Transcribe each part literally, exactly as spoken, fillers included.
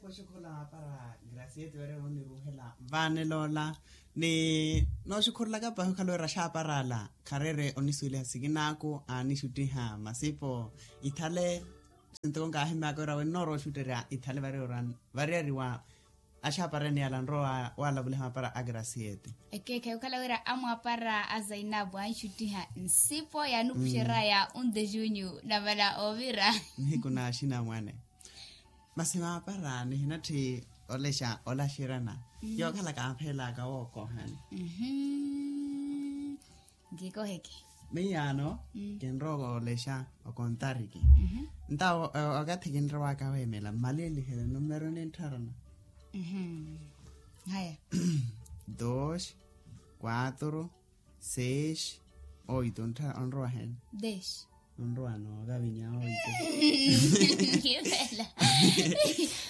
Nooxukhula maapara graciete wari oniruuhela nvaaneloola ni nooxukhurulaka pahi okhala wira axaapara ala khareere onisuweliha sikinaaku aanixuttiha masipo ithale. Sintoko nkaahimmyaka wira winoorowa oxutterya ithale variyari wa axaapareni ala nrowa waalavuliha maapara a graciete. Ekeekhayi okhala wira amwaapara a zainabu anxuttiha nsipo yaanupuxeraya unde junyu namana oovira nihiku na axinamwane. Masi maapara nihinatthi olexa olaxeryana yookhala kaaphelaka wookohani. Nkikoheke. Miyaano kinrowa olexa okontariki. Nta wakathi kinrowaka weemela mmalelihele numero nintharana. Haya. Dos, quatro, seis, oito. Onrowa hene? Des. Onrowa nookavinya oito. Nkivela.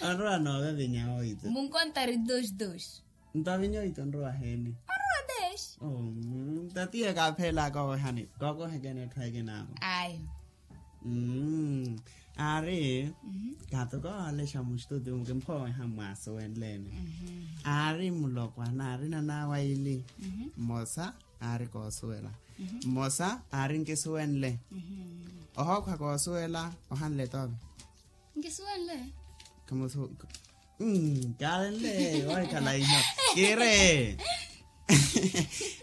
Onrowa nookavinya oito munkontari dos dos. Ntavinya oito onrowa hene? Onrowa des. Tatiye kaaphelaka owehani kookohekene etthu ekinako. Ayo. Aari kaatoko alexa muxituti mukimphoweha mwaaso wenlene. Aari mulopwana aari nanaawa ili mmosa aari koosuwela mmosa aari nkisuwenle. Ohookha koosuwela ohanle toove. Nkisuwenle. Kalenle wahikhala iho kire.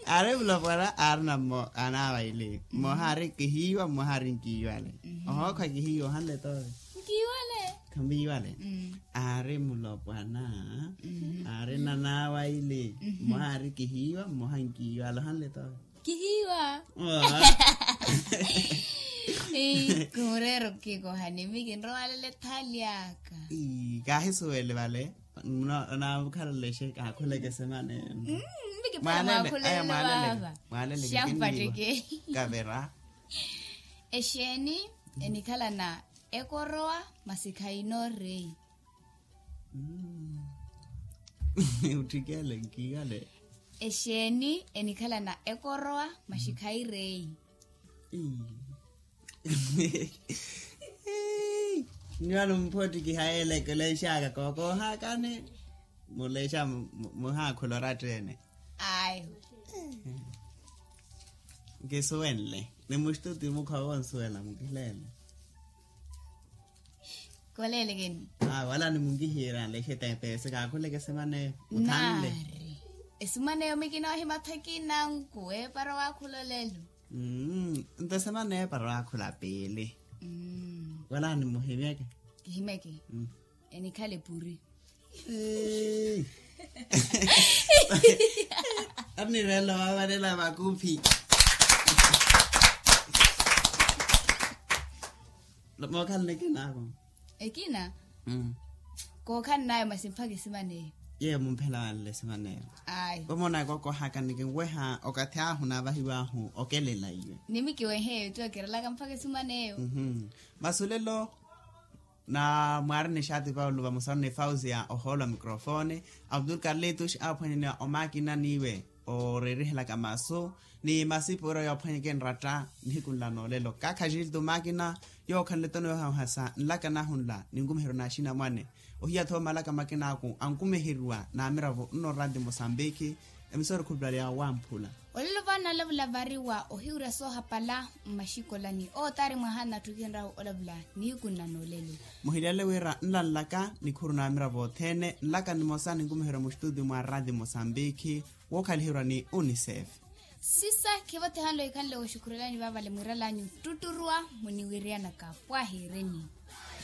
Aari mulopwana aari na mmo anaawa ili mmoha aari kihiiwa mmoha aari nkiiwale. Ohookha kihiiwa ohanle toove. Nkiiwale. Khambiiwale. Aari mulopwana aari nanaawa ili mmoha aari kihiiwa mmoha nkiiwale ohanle toove. Kihiiwa. Khureera okikohani mi kinrowalela ethali aka. Kaahisuwele vale. Naamukhalalexe kaakhuleke semana eyo. Mi kipala mwaakhulelelo vaava. Xampatteke. Kavera. Exeeni enikhalana ekorowa masi khayinooreyi. Utthikele nkiiwale. Exeeni enikhalana ekorowa masi khayireyi. Nyuwano mphoottikiha yeelekelexaka kookoohakani. Mulexa muhaakhula orattene. Ayo. Nkisuwenle ni muxituti mukhowa wonsuwela mukileele. Koleelekeni. Wala ni munkihiira nlexe tempesi kaakhuleke esimana eyo. Muthanle. Naari esimana eyo mi kinoohimatha kinanku eepara waakhula olelo. Nto esimana eepara waakhula piili. Wala ni muhimyeke. Kihimyeke. Enikhala epuri. Annireela ovavanela vakuphi. Mookhalana ekina ako. Ekina. Kookhalanayo masi mphaka esimana eyo. Yeeyo mumphela wanle esimana eyo. Ayi. Vamona kookohaka ni kinweha okathi ahu naavahiw'ahu okelela iwe. Ni mi kiwehe eyo ti okirelaka mphaka esimana eyo. Masi olelo na mwaari ni xaati paulo vamosa ni fausia ohoolwa mikrofone. Abdul karlitus aaphwanyaniwa omaakina niiwe oreerihelaka masu ni masipu ira yoophwanyeke nratta nihiku nla noolelo kaakha jilto omaakina. Yookhanle tono yoohawihasa nlaka nahu nla ninkumiheryo n'axinamwane ohiya-tho malaka makina aku ankumiheriwa n'amiravo nno radi mosambiki. Emisori khupulaliya wamphula. Olelo vaanalavula vari wa ohiwira soohapala mmaxikolani ootaari mwaha nnattukihenrahu olavula nihiku nna noolelo. Muhilele wira nlanlaka nikhuru n'amiravo othene nlaka nimosa ninkumiherya muxituti mwa radi mosambiki wookhaliherwa ni unicef. Sisa khivotehanlo ikhanle woxukhurelani vavale mwiiralanyu ttutturuwa muniwiriyanaka pwahiireni.